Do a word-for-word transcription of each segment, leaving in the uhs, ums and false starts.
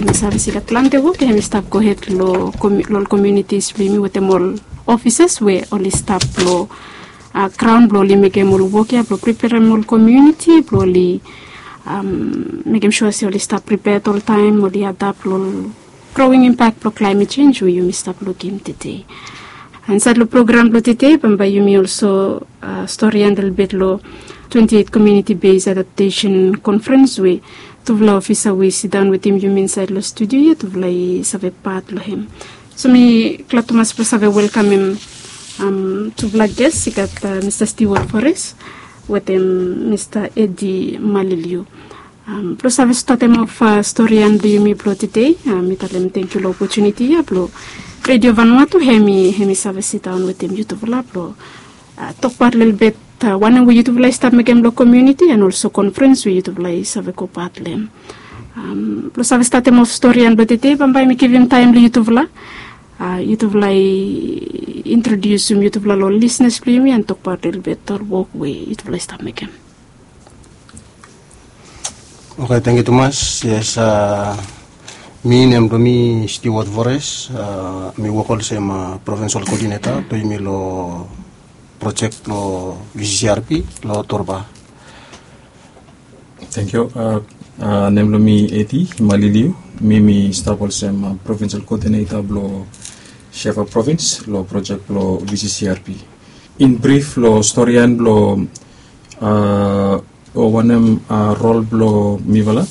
Mi save se i gat plante wok ya hem i stap gohed long komiunitis blong yumi wetem ol ofises we oli stap long graon blong oli mekem ol wok ya blong priperem ol komiuniti blong oli mekem sua se oli stap pripea oltaem oli adap long ol growing impak blong klaemet sens we yumi stap lukim tede. Insaed long program blong tede bambae yumi olso storian lelebet long twenti eit komiuniti bes adaptesen konfrens we tufala ofisa we i sidaon wetem yumi insaed long studio ya tufala i save pat long hem. So mi glad tumas blong save welkamem tufala ges i gat mista stiwat fores wetem mista edi maliliu blong save statem of storian blong yumi blong tede. Mi talem tengkiu long opotuniti ya blong redio vanua tu hem i save sidaon wetem yutufala blong tokbaot lelebet wanem we yutufala i stap mekem long komiuniti an olso konfrens we yutufala i save gobaot long hem. Blong save statem of storian blong tede bambae mi givim taem long yutufala. Yutufala i introdiusim yutufala long ol lisnas blong yumi an tokbaot lelebet ol wok we yutufala i stap mekem. Oke, tangkiu tumas. Yes, mi nem blong mi Stewart Vores. Mi wok olsem provinsal koodineta blong yumi long projek blong V C C R P long Torba. Tangkiu. Nem blong mi Edi Maliliu. Mi mi stap olsem provinsal koodineta blong Shefa provins long projek blong V C C R P. In brif long storian blong o wanem rol blong mifala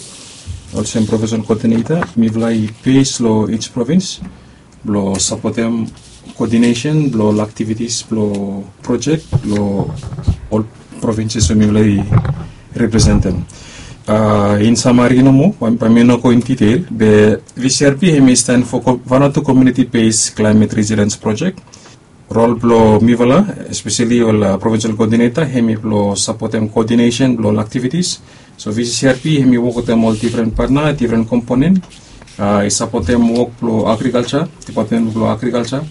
olsem provinsal koodineta, mifala i bes long ij provins blong sapotem koodinesen blong ol aktivitis blong projek long ol provinses we mifala i representem. In samari nomo, bae mi no go in ditel be V C R P hem i stan fo Vanuatu Community Based Climate Resilience Project. Rol blong mifala, espeseli ol provinsal koodineta, hem i blong sapotem koodinesen blong ol aktivitis. So V C C R P hem i wok wetem ol difren patna, difren komponen. I sapotem wok blong agrikalsa, dipatmen blong agrikalsa.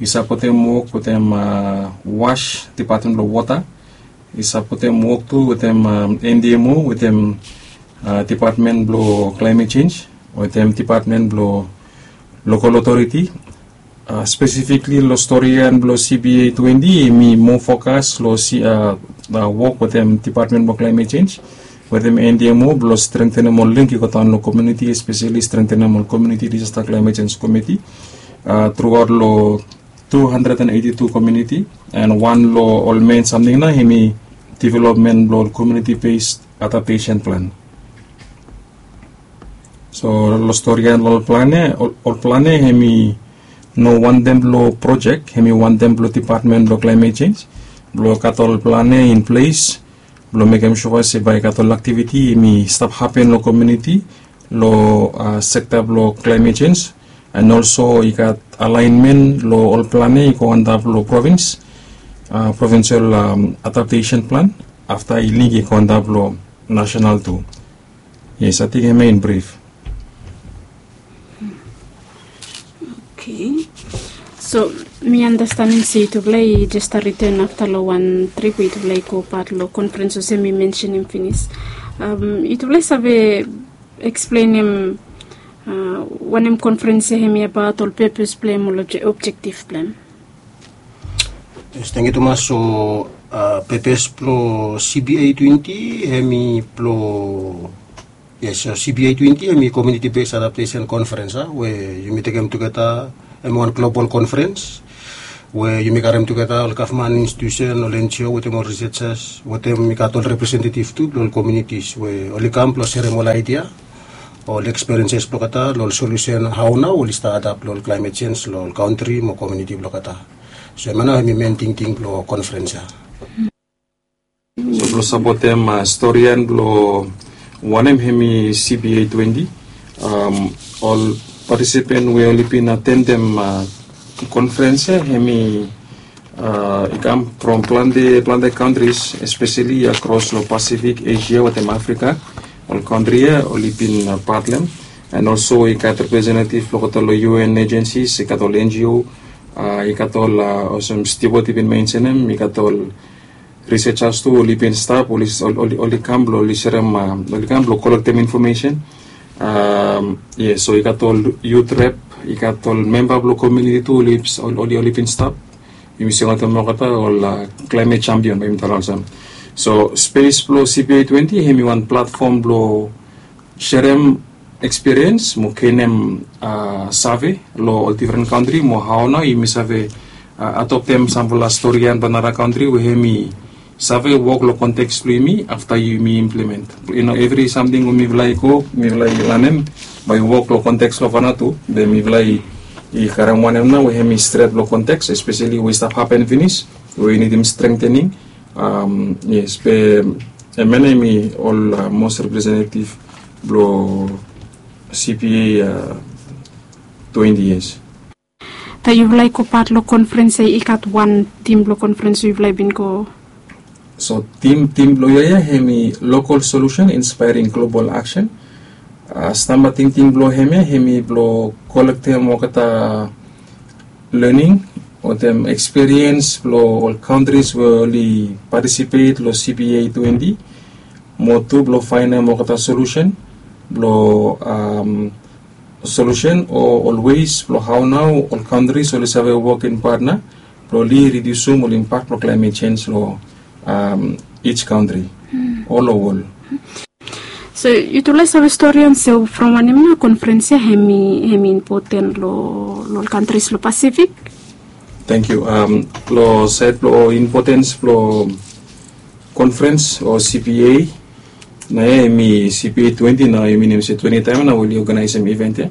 I sapotem wok wetem was, dipatmen blong wota. I sapotem wok tu wetem N D M O wetem dipatmen blong klaemet sens wetem dipatmen blong lokal otoriti. Spesifikli long storian blong C B A twenti hem i moa fokas long wok wetem dipatmen blong klaemet sens wetem N D M O blong strengtenem ol link i go daon long komiuniti, espeseli strengtenem ol komiuniti disasta klaemet sens komiti truaot long tu handred an eiti tu komiuniti. An wan long ol men samting nao hem i developmen blong ol komiuniti bes adaptesen plan. So long storian long ol plan ya, ol plan ya hem i no wantem blong projek, hem i wantem blong dipatmen blong klaemet sens blong gat ol plan ya in ples blong mekem sua se bae i gat ol aktiviti hem i stap hapen long komiuniti long sekta blong klaemet sens. An olso i gat alaenmen long ol plan ya i go antap long provins, provinsal adaptesen plan, afta i link i go antap long nasenal tu. Yes, ating hem ya in brif. Oke. So mi anastenem se yutufala i jes stap riten afta long wan trip we yutufala i gobaot long konfrens olsem mi mensenem finis. Yutufala i save eksplenem wanem konfrens ya hem i abaot, ol pepes blong hem, ol objektif blong hem? Yes, tangkiu tumas. So pepes blong C B A twenti hem i blong, yes, so C B A twenti hem i komiuniti bes adaptesen konfrens a we yumi tekem tugeta hem wan global konfrens we yumi karem tugeta ol gavman institusen, ol N G O wetem ol risejas wetem i gat ol representetiv tu blong ol komiunitis we oli kam blong serem ol aedia, ol eksperienses blong olgeta long ol solusen hao nao oli stap adap long ol klaemet sens long ol kantri mo komiuniti blong olgeta. So hemia nao hem i men tingting blong konfrens ya. So blong sapotem storian blong wanem hem i C B A twenti, ol patisipen we oli bin atendem konfrens ya hem i i kam from plante plante kantris, espeseli akros long Pasifik, Esia wetem Afrika. Ol kantri ya oli bin pat long hem. An olso i gat representetiv blong olgeta long U N ejensis, i gat ol N G O, i gat ol olsem Stewart i bin mensenem, i gat ol risejas tu oli bin stap, oli kam blong oli serem, oli kam blong kolektem infomesen Yes, so i gat ol yut rep, i gat ol memba blong kominiti tu oli oli bin stap. Yumi singaot em olgeta ol klaimet champion bae yumi talem olsem. So spes blong cpa twenti hem i wan platfom blong serem ekspiriens mo genem save long ol difren kantri mo hao nao yumi save adoptem samfala storian blong nara kantri we hem i save wok long konteks blong yumi afta yumi implement. Evri samting we mifala i go mifala i lanem bae i wok long konteks blong vanatu be mifala i karem wanem nao we hem i stret long konteks espeseli we i stap hapen finis we i nidim strengtening. Yes, be em ya nao hem i ol mos representetiv blong cpa twenti years. Taem yufala i go pat long konfrens ya i gat wan tim blong konfrens we yufala i bin go? So tim tim blong yia ya hem i local solution inspiring global action. Stamba tingting blong hem ya hem i blong kolektem olgeta lening wetem ekspiriens blong ol kantris we oli patisipet long cpa twenti mo tu blong faenem olgeta solusen blong solusen o ol wes blong hao nao ol kantris oli save wok in patna blong oli ridiusum ol impak blong klaimet sens long ij kantri o long wol. So yutufala i save stori on se from wanem nao konfrens ya hem i impoten long ol kantris long pasifik? Tangkiu. Long saed blong impotens blong konfrens o cpa nao ya hem i cpa twenti nao yumi nem se twenti taem nao we oli oganaesem iven ya.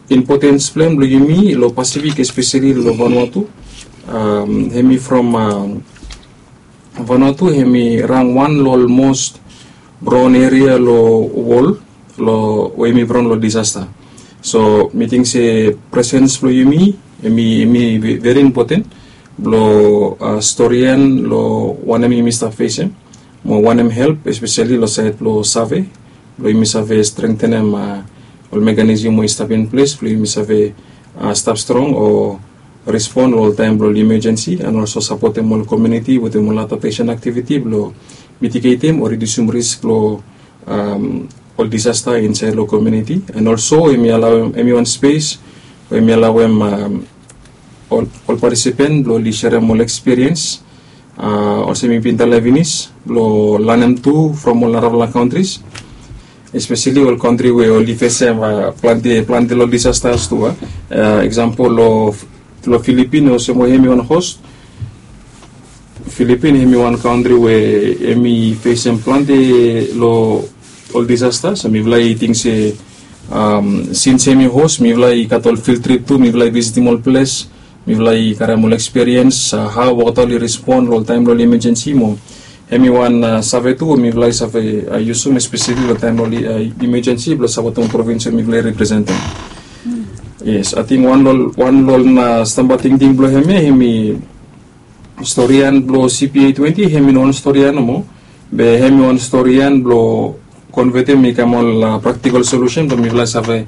Impotens blong hem blong yumi long pasifik espeseli long vanua tu hem i from vanua tu hem i rang wan long ol mos braon eria long wol long we hem i braon long disasta. So mi ting se presens blong yumi hem i veri impoten blong storian long wanem yumi stap fesem mo wanem help espeseli long saed blong save blong yumi save strengtenem ol mekanism we i stap in ples blong yumi save stap strong o respon long ol taem blong ol imejensi and olso sapotem ol kominiti wetem ol adaptesen aktiviti blong mitigetem o ridiusum risk blong ol disasta insaed long kominiti. And olso hem i wan spes we hem i alaoem ol patisipen blong oli serem ol ekspiriens olsem mi bin talem finis blong lanem tu from ol narafala kantris espeseli ol kantri we oli fesem plante plante long disastas tu a. Eksampol long filipin olsem we hem i wan hos. Filipin hem i wan kantri we hem i fesem plante long ol disastas so mifala i ting se sins hem i hos mifala i gat ol fil trip tu mifala i visitim ol ples mifala i karem ol ekspiriens hao olgeta oli respon long ol taem blong ol imejensi mo hem i wan save tu we mifala i save yusum espeseli long taem blong ol imejensi blong sapotem ol provins we mifala i representem. Yes ating wan long ol na stamba tingting blong hem ya hem i storian blong cpa twenti hem i no wan storian nomo be hem i wan storian blong konvetem i kam ol praktikal solusen blong mifala i save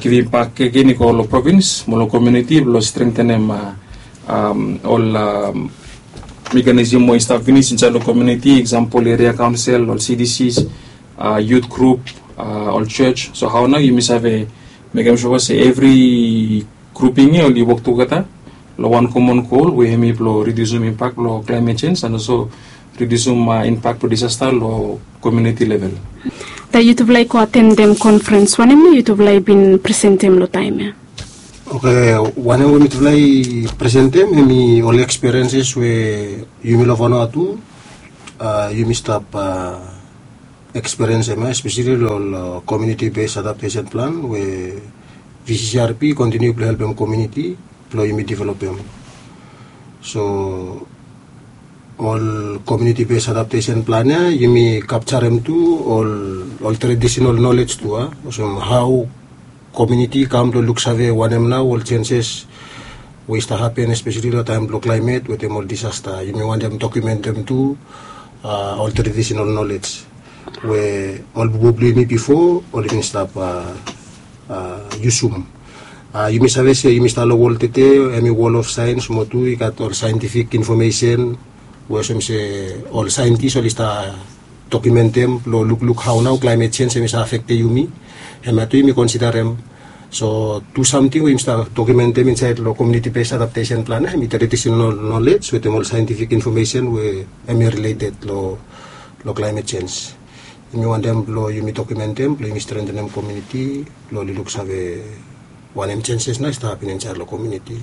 givim bak agen i go long provins mo long kominiti blong strengtenem ol mekanism we i stap finis insaed long kominiti eksampol eria kaonsel ol cdcs yut grup ol jos so hao nao yumi save mekem sua se evri gruping ya oli wok tugeta long wan komon gol we hem i blong ridiusum impak blong klaimet sens and olso ridiusum impak blong disasta long kominiti level. Taem yutufala i go atendem konfrens wanem nao yutufala i bin presentem long taem ya? Oke, wanem we mitufala i presentem hem i ol ekspirienses we yumi long vanua tu yumi stap ekspiriensem ya espeseli long ol kominiti bes adaptesen plan we vccrp i kontiniu blong helpem kominiti blong yumi developem. So ol kominiti bes adaptesen plan ya yumi kapjarem tu ol tradisinal nolej tu a olsem hao kominiti i kam blong luksave wanem nao ol senses we i stap hapen espeseli long taem blong klaimet wetem ol disasta yumi wantem dokumentem tu ol tradisinal nolej we ol bubu blong yumi bifo oli bin stap yusum. Yumi save se yumi stap long wol tete hem i wol of saens mo tu i gat ol saentifik infomesen we olsem se ol saentis oli stap dokumentem blong lukluk hao nao klaemet sens em i save afektem yumi. Hemia tu yumi konsiderem. So tu samting we yumi save dokumentem insaed long komiuniti bes adaptesen plan ya em i tradisenal nolej wetem ol saentifik infomesen we em i rileted long klaemet sens. Yumi wantem blong yumi dokumentem blong yumi strentenem komiuniti blong oli luksave wanem senses nao i stap hapin insaed long komiuniti,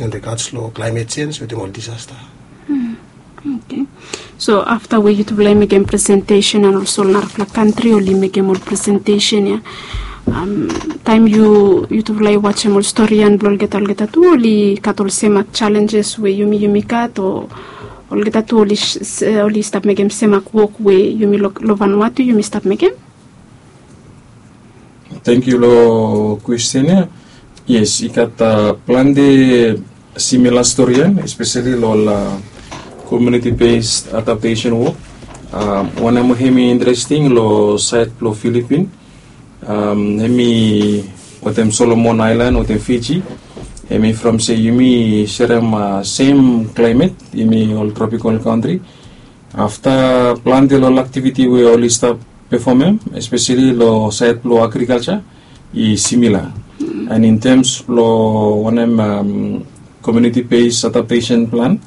in rigats long klaemet sens wetem ol disasta. Oke. So afta we yutufala i mekem presentesen an olso ol narafala kantri oli mekem ol presentesen ya, taem yutufala i wajem ol storian blong olgeta olgeta tu oli gat ol semak salenjes we yumi yumi gat o olgeta tu oli stap mekem semak wok we yumi long vanua tu yumi stap mekem? Tengkiu long kwesten ya. Yes, i gat plante simila storian espeseli long ol komiuniti bes adaptesen wok. Wanem we hem i interesting long saed blong filipin, hem i wetem solomon aelan wetem fiji. Hem i from se yumi serem sem klaemet, yumi ol tropikal kantri. Afta plante long ol aktiviti we oli stap pefomem espeseli long saed blong agrikalja i simila. An in tems blong wanem komiuniti bes adaptesen plan,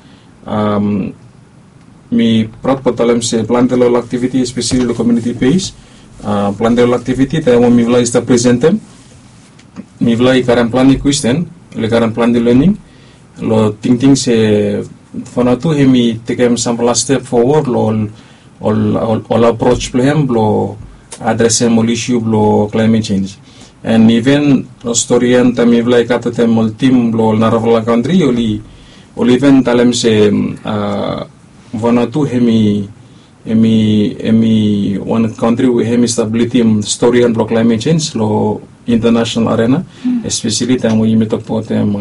mi praod blong talem se plante long ol aktiviti espeseli long komiuniti bes plante long ol aktiviti taem we mifala i stap presentem, mifala i karem plante kwesten, oli karem plante lening long tingting se fanatu hem i tekem samfala step fowod long ol ol aproj blong hem blong adresem ol isu blong klaemet sens. An iven ol storian taem mifala i gat wetem ol tim blong ol narafala kantri oli oli iven talem se vanatu hem i hem i hem i wan kantri we hem i stap lidim storian blong klaemet sens long intanasenal arena, espeseli taem we yumi tokbaotem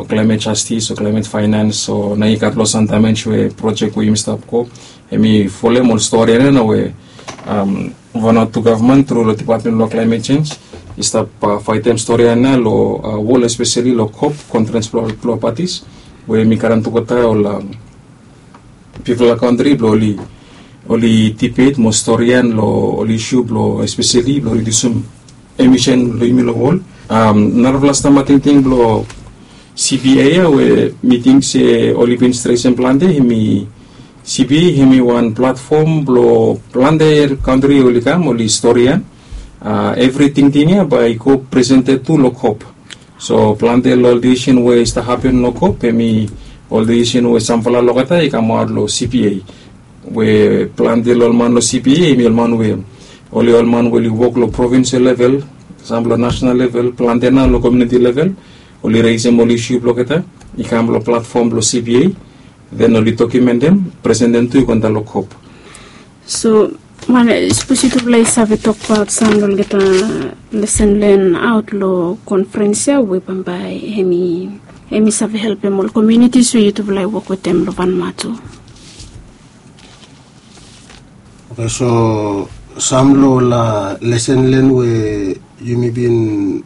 klaemet jastis o klaemet faenans o nao i gat long san damej we projek we yumi stap go. Hem i folem ol storian ya nao we vanatu gavman tru long dipatmen blong klaemet sens i stap faetem storian ya long wol espeseli long kop konferens blong patis we hem i karem tugeta ol bifala kantri blong oli oli dibet mo storian long ol isu blong espeseli blong ridiusim emisen blong yumi long wol. Narafala stamba tingting blong cpa ya we mi ting se oli bin stresem plante hem i cpa hem i wan platfom blong plante kantri oli kam oli storian evri tingting ya bae i go presented tu long kop. So plante long ol disisen we i stap hapen long kop hem i ol disisen we samfala olgeta i kamaot long cpa we plante long ol man long cpa hem i ol man we oli ol man we oli wok long provinsel level, sam long nasenal level plante nao long komiuniti level oli resem ol isu blong olgeta i kam long platfom blong cpa. Den oli dokumentem presentem tu i go antap long kop. So sapos yutufala i save tokbaot sam long olgeta lesen len aot long konferens ya we bambae hem i save helpem ol komiunitis we yutufala i wok wetem long vanua tu. Oke, so sam long ol lesen len we yumi bin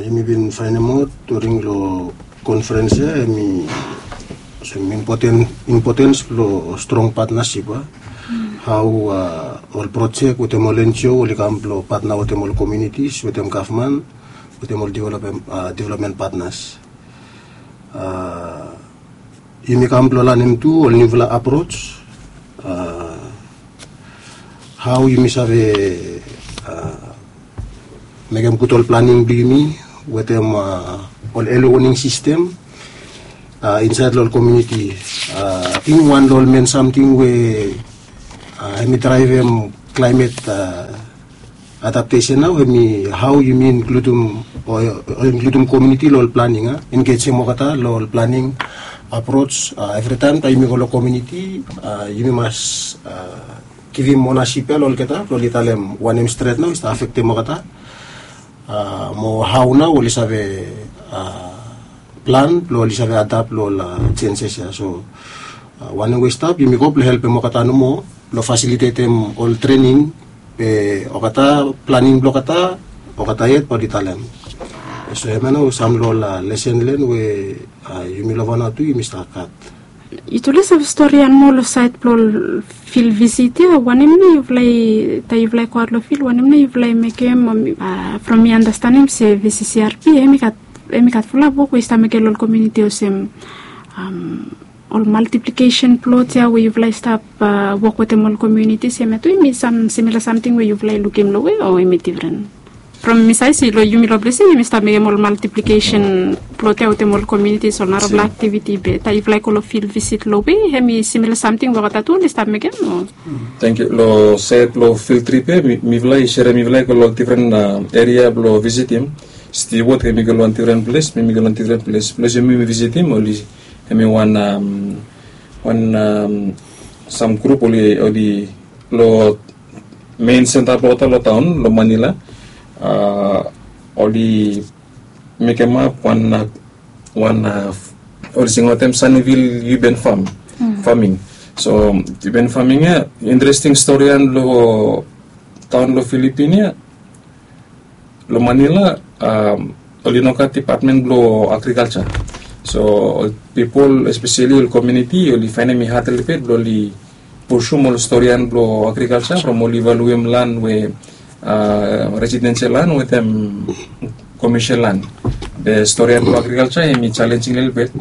yumi bin faenemaot during long konferens ya hem i olsem impotens blong strong patnasip a hao ol projek wetem ol enjio oli kam blong patna wetem ol komiunitis wetem gavman wetem ol developmen patnas. Yumi kam blong lanem tu ol niufala aproj hao yumi save mekem gud ol planing blong yumi wetem ol eli woning sistem insaed long ol komiuniti. Ating wan long ol men samting we hem i draevem klaemet adaptesen nao hem i hao yumi inkludim o inkludim komiuniti long ol planing a engejem olgeta long ol planing aproj. Evritaem taem yumi go long komiuniti yumi mas givim onasip ya long olgeta blong oli talem wanem stret nao i stap afektem olgeta mo hao nao oli save plan blong oli save adap long ol jenses ya. So wanem we i stap yumi go blong helpem olgeta nomo blong fasilitetem ol trening be olgeta planing blong olgeta olgeta yet bae oli talem. So hemia nao sam long ol lesen len we yumi long vanua tu yumi stap gat. Yutufala i save stori ia moa long sait blong fil visit ia, wanem nao yufala i taem yufala i go aot long fil, wanem nao yufala i mekem? From mi anastenem se vccrp hem i gat fulap wok we i stap mekem long ol komiuniti olsem ol maltiplikesen plot ia we yufala i stap wok wetem ol komiunitis, hemia tu hem i sam simila samting we yufala i lukim long we o hem i difren? From mi save se long yumi long ples ia yumi stap mekem ol maltiplikesen plot ia wetem ol komiunitis, ol narafala aktiviti, be taem yufala i go long fil visit long we hem i simila samting we olgeta tu oli stap mekem o? Tangkiu. Long sait blong fil trip ia mifala i serem, mifala i go long difren eria blong visitim. Stiwot hem i go long wan difren ples, mi mi go long difren ples. Ples we mi mi visitim oli hem i wan wan sam grup oli oli long mein senta blong olgeta long taon long Manila. Oli mekemap wan wan oli singaotem Sunnyvale urban farm, farming. So urban farming ia interesting stori ia long taon long Filipin ia. Long Manila oli no gat dipatmen blong agrikalsa. So ol pipol, espeseli ol komiuniti, oli faenem i had lelebet blong oli pusum ol stori ia blong agrikalsa from oli valuem lan we residensel lan wetem komesil lan. Be stori ia blong agrikalsa hem i jalenjing lelebet.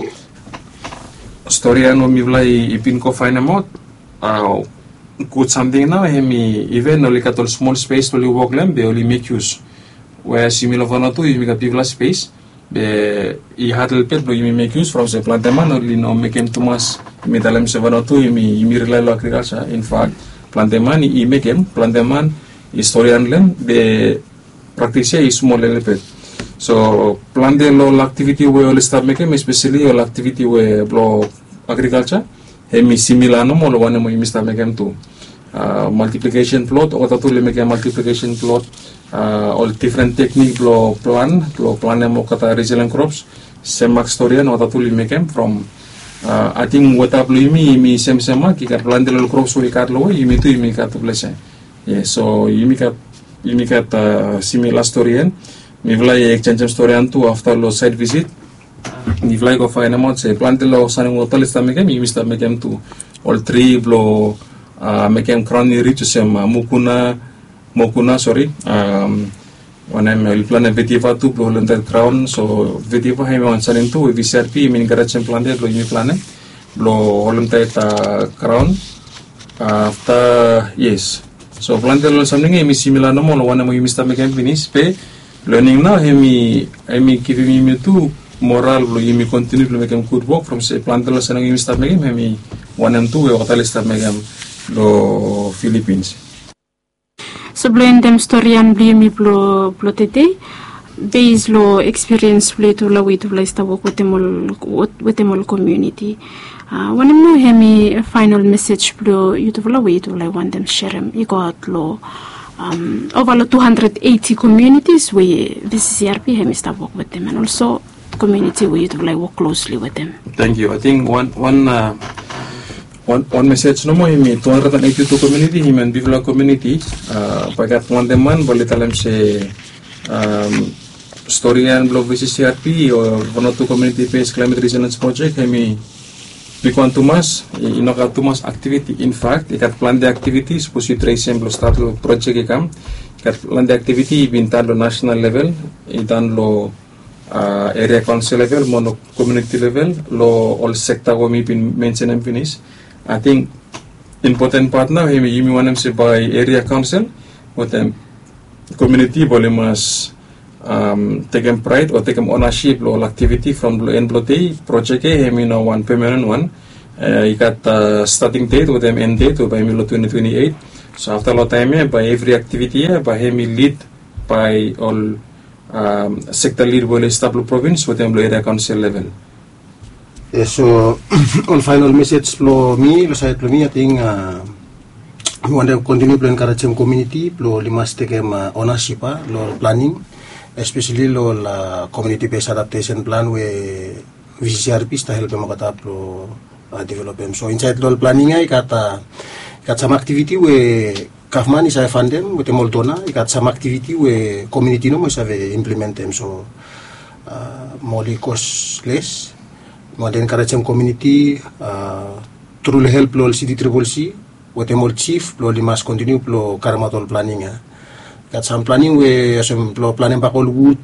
Stori ia we mifala i bin go faenemaot, gud samting nao hem i iven oli gat ol smol spes blong oli wok long hem be oli mek yus. Weas yumi long Vanuatu yumi gat bigfala spes, be i had lelebet blong yumi mek yus from se plante man oli no mekem tumas. Yumi talem se Vanuatu yumi yumi rilae long agrikalsa. Infak plante man i mekem, plante man i stori long hem, be praktis ia i smol lelebet. So plante long ol aktiviti we oli stap mekem, espeseli ol aktiviti we blong agrikalsa, hem i simila nomo long wanem we yumi stap mekem tu. Maltiplikesen plot, olgeta tu oli mekem maltiplikesen plot. Ol difren teknik blong plan, blong planem olgeta resilien krops, sem mak stori ia olgeta tu oli mekem from ating weta blong yumi yumi semsem mak, i gat plante long ol krops we i gat long we yumi tu yumi gat tufala se. Yes, so yumi gat yumi gat simila stori ia. Mifala i eksenjem stori ia tu afta long sait visit. Mifala i go faenemaot se plante long sanem wota oli stap mekem, yumi stap mekem tu. Ol tri blong mekem graon i rij olsem mukuna, mokuna, sori, wanem, oli planem vetiva tu blong holem taet graon. So vetiva hem i wan sanem tu we vccrp yumi enkarejem plante blong yumi planem blong holem taet graon. Afta, yes. So plante long ol samting ia hem i simila nomo long wanem we yumi stap mekem finis, be lening nao hem i hem i givim yumi tu moral blong yumi kontiniu blong mekem gud wok from se plante long samting we yumi stap mekem hem i wanem tu we olgeta oli stap mekem long Filipins. So blong endem stori ia blong yumi blong blong tede, bes long ekspiriens blong yutufala we yutufala i stap wok wetem ol wetem ol komiuniti, wanem nao hem i faenol mesej blong yutufala we yutufala i wantem serem i go aot long ova long tu handred eiti komiunitis we vccrp hem i stap wok wetem, and olso komiuniti we yutufala i wok klosli wetem? Tangkiu. Ating wan wan wan mesej nomo hem i tu handred and eiti tu komiuniti hem i wan bigfala komiuniti. Bae i gat plante man bae oli talem se stori ia blong vccrp o Vanuatu Community Based Climate Resilience Project hem i bigwan tumas, i no gat tumas aktiviti. Infak i gat plante aktiviti sapos yu tresem blong stat long projek i kam. I gat plante aktiviti i bin tan long nasenal level, i tan long eria kaonsel level mo long komiuniti level, long ol sekta we mi bin mensenem finis. Ating impoten pat nao hem i yumi wantem se bae eria kaonsel wetem komiuniti bae oli mas tekem praed o tekem onasip long ol aktiviti from long en blong dei. Projek ia hem i no wan pemanen wan, i gat stating det wetem en det we bae hem i long twenti twenti eit. So afta long taem ia bae evri aktiviti ia bae hem i lid bae ol sekta lid we oli stap long provins wetem long eria kaonsel level. Yes, so ol faenol mesej blong mi long saed blong mi ating mi wantem kontiniu blong enkarejem komiuniti blong oli mas tekem onasip long ol planing, espeseli long ol komiuniti bes adaptesen plan we vccrp i stap helpem olgeta blong developem. So insaed long ol planing ia i gat i gat sam aktiviti we gavman i save fantem wetem ol dona, i gat sam aktiviti we komiuniti nomo i save implementem. So mo oli kos les. Mi wantem enkarejem komuniti tru long help blong ol City Triple C wetem ol jif blong oli mas kontiniu blong karemaot ol planing ya. Gat sam planing we olsem blong planem bak ol wud,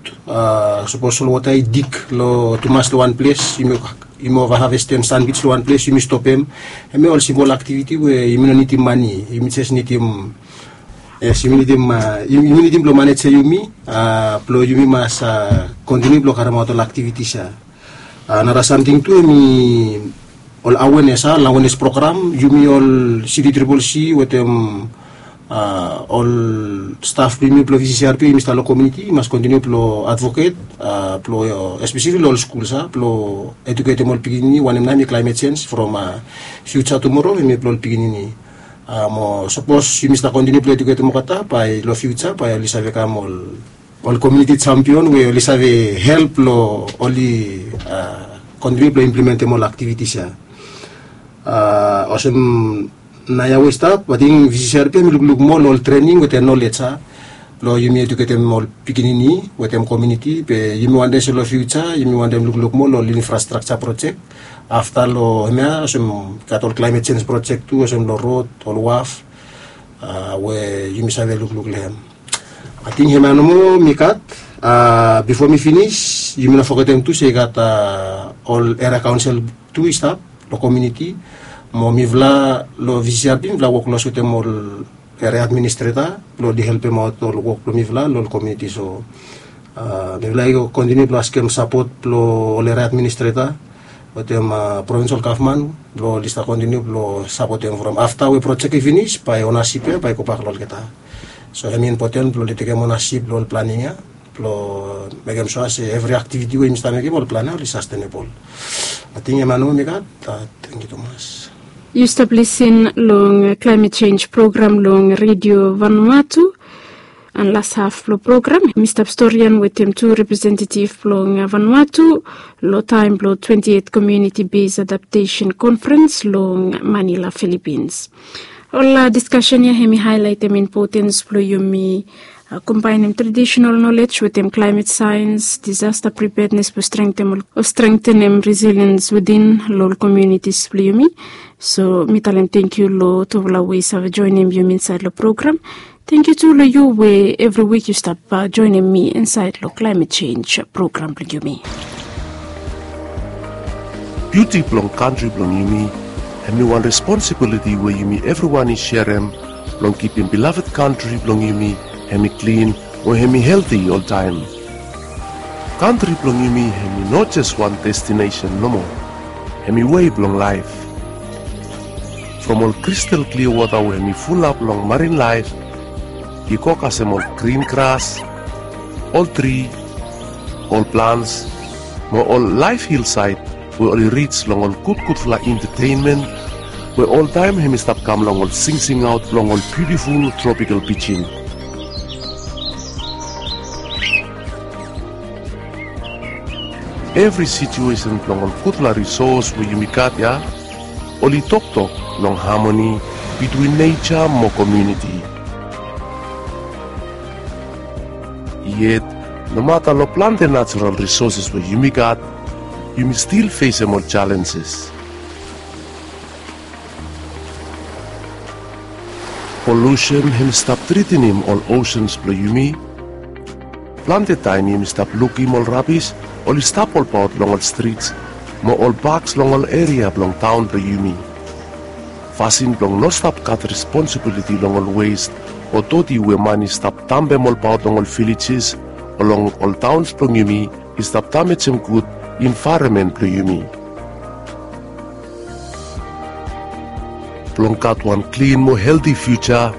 sapos solwota i dig long tumas long wan ples, yumi ova havestem sanbij long wan ples, yumi stopem. Hemia ol simpol aktiviti we yumi no nidim mane, yumi jes nidim, yes, yumi nidim, yumi nidim blong manejem yumi blong yumi mas kontiniu blong karemaot ol aktivitis ya. Nara samting tu hemi ol awenes, a ol awenes program, yumi ol City Triple C wetem ol staf blong yumi blong V C C R P, yumi stap long komuniti, i mas kontiniu blong advoket blong espeseli long ol skul, a blong eduketem ol pikinini wanem nao hemi klaemet jenj from fiuja tumoro hemi blong ol pikinini. Mo sapos yumi stap kontiniu blong eduketem olgeta, bae long fiuja bae oli save kam ol ol komuniti jampion we oli save help long oli kontiniu blong implementem ol aktivitis ya. Olsem naoia we i stap, ating V C C R P hemi lukluk moa long ol trening wetem nolej, a blong yumi eduketem ol pikinini wetem komuniti, be yumi wantem se long fiuja yumi wantem lukluk moa long ol infrastrakja projek. Afta long hemia olsem gat ol klaemet jenj projek tu, olsem long rod, ol waf, we yumi save lukluk long hem. Ating hemia nomo mi gat. Bifo mi finis, yumi no fogetem tu se i gat ol eria kaonsel tu i stap long komuniti. Mo mifala long V C C R P mifala wok klos wetem ol eria administreta blong oli helpemaot ol wok blong mifala long ol komuniti. So mifala i kontiniu blong askem sapot blong ol eria administreta wetem provinsal gavman blong oli stap kontiniu blong sapotem from afta we projek i finis, bae onasip ya bae i gobak long olgeta. So hemi impoten blong oli tekem onasip long ol planing ya blong mekem sua se evri aktiviti we yumi stap mekem, ol plan ya oli sastenebol. Ating hemia nomo mi gat. Tangkiu tumas. Yu stap lisin long klaemet jenj program long Redio Vanuatu. Long las haf blong program mi stap storian wetem tu representetiv blong Vanuatu long taem blong twenti eit Komuniti Bes Adaptesen Konferens long Manila, Filipins. Ol diskasen ya hemi haelaetem impotens blong yumi kombaenem tradisenal nolej wetem klaemet saens, disasta pripednes blong strengtenem resiliens within long ol komunitis blong yumi. So mi talem tangkiu long tufala we i save joenem yumi insaed long program. Tangkiu tu long yu we evri wik yu stap joenem mi insaed long klaemet jenj program blong yumi. Biuti blong kantri blong yumi hemi wan responsibiliti we yumi evriwan i serem blong kipim bilafed kantri blong yumi hemi klin mo hemi helti oltaem. Kantri blong yumi hemi no jes wan destinesen nomo, hemi wei blong laef. From ol kristal klia wota we hemi fulap long marin laef i go kasem ol grin gras, ol tri, ol plans mo ol laef hilsaed we oli rij long ol gudgudfala entetenmen we oltaem hemi stap kam long ol singsingaot blong ol biutiful tropikal pijin. Evri situesen blong ol gudfala risos we yumi gat ya oli toktok long hamoni bitwin neja mo komuniti. Yet nomata long plante najerol risoses we yumi gat, yumi stil fesem ol jalenjes. Polusen hemi stap tretenem ol osens blong yumi. Plante taem yumi stap lukim ol rabis oli stap olbaot long ol strits mo ol baks long ol eria blong taon blong yumi. Fasin blong no stap gat responsibiliti long ol wes o doti we man i stap dampem olbaot long ol vilejes o long ol taons blong yumi i stap damejem gud envaeronmen blong yumi. Blong gat wan klin mo helti fiuja,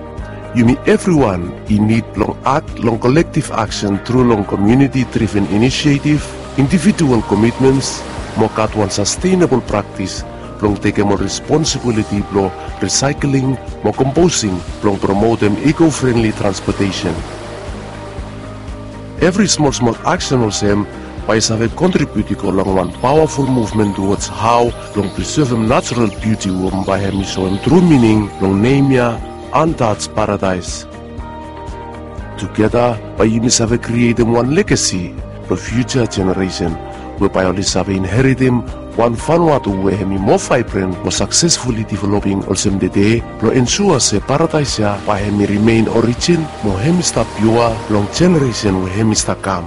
yumi evriwan i nid blong akt long kolektiv aksen tru long komuniti driven inisietiv, indivijual komitmens mo gat wan sastenebol praktis blong tekem ol responsibiliti blong risaekling mo komposing blong promotem iko frenli transpotesen. Evri smolsmol aksen olsem bae i save kontribiut i go long wan pawaful muvmen tuwods hao blong prisevem najerol biuti we bae hemi soem tru mining blong nem ya Untouched Paradise. Tugeta bae yumi save krietem wan legasi blong fiuja jeneresen we bae oli save inheritem wan Vanuatu we hemi moa vaebren mo saksesfuli developing olsem tede, blong ensua se paradaes ya bae hemi rimen orijin mo hemi stap piua long jeneresen we hemi stap kam.